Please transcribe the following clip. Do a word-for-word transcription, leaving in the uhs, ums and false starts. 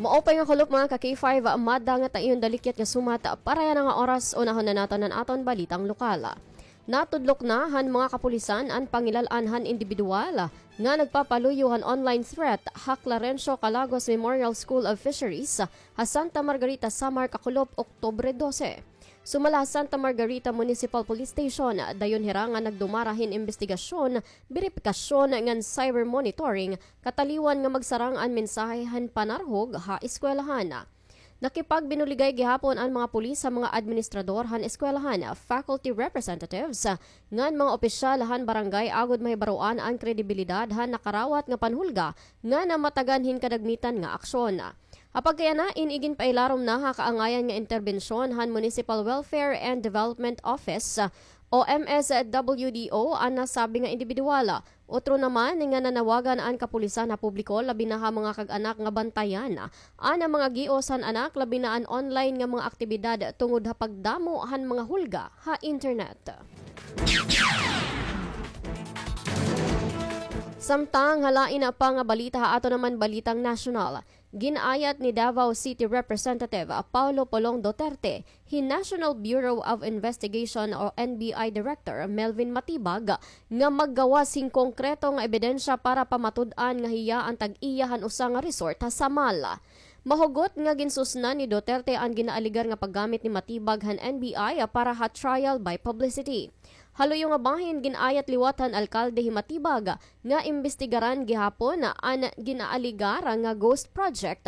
Maupay nga kulop, mga ka-K five, madda nga ta iyo dalikyat nga sumat para yana nga oras. Unahon na naton an aton balitang lokal. Natudlok na han mga kapulisan an pangilal-an han indibidwal nga nagpapaluyo han online threat ha Clarencio Calagos Memorial School of Fisheries ha Santa Margarita, Samar, kakulop, Oktubre dose. Sumala ha Santa Margarita Municipal Police Station, dayon hira nga nagdumara hin imbestigasyon, beripikasyon ngan cyber monitoring, kataliwan nga magsarang an mensahe han panarhog ha eskwelahan. Nakipagbinuligay gihapon an mga pulis ha mga administrador han eskwelahan, faculty representatives, ngan mga opisyal han barangay agod mahibaroan an kredibilidad han nakarawat nga panhulga ngan namatagan hin kadagmitan nga aksyon. Ha pagkayana, in iginpailarom na ha kaangayan nga interbensyon han Municipal Welfare and Development Office o M S W D O an nasabi nga indibidwal. Utro naman nga nanawagan an kapulisan ha publiko, labi na ha mga kag-anak, nga bantayan an mga gios han anak, labi na an online nga mga aktibidad tungod ha pagdamo han mga hulga ha internet. Samtang ha lain pa nga balita, ha aton naman balitang nasyonal, gin-ayat ni Davao City Representative Paolo Polong Duterte hin National Bureau of Investigation o N B I Director Melvin Matibag nga maggawas hin konkreto nga ebidensya para pamatud-an nga hiya an tag-iya han usa nga resort ha Samal. Mahugot nga ginsusnan ni Duterte an ginaaligar nga paggamit ni Matibag han N B I para ha trial by publicity. Ha luyo nga bahin, gin-ayat liwat han alkalde hi Matibag nga imbestigaran gihapon an ginaaligar nga ghost project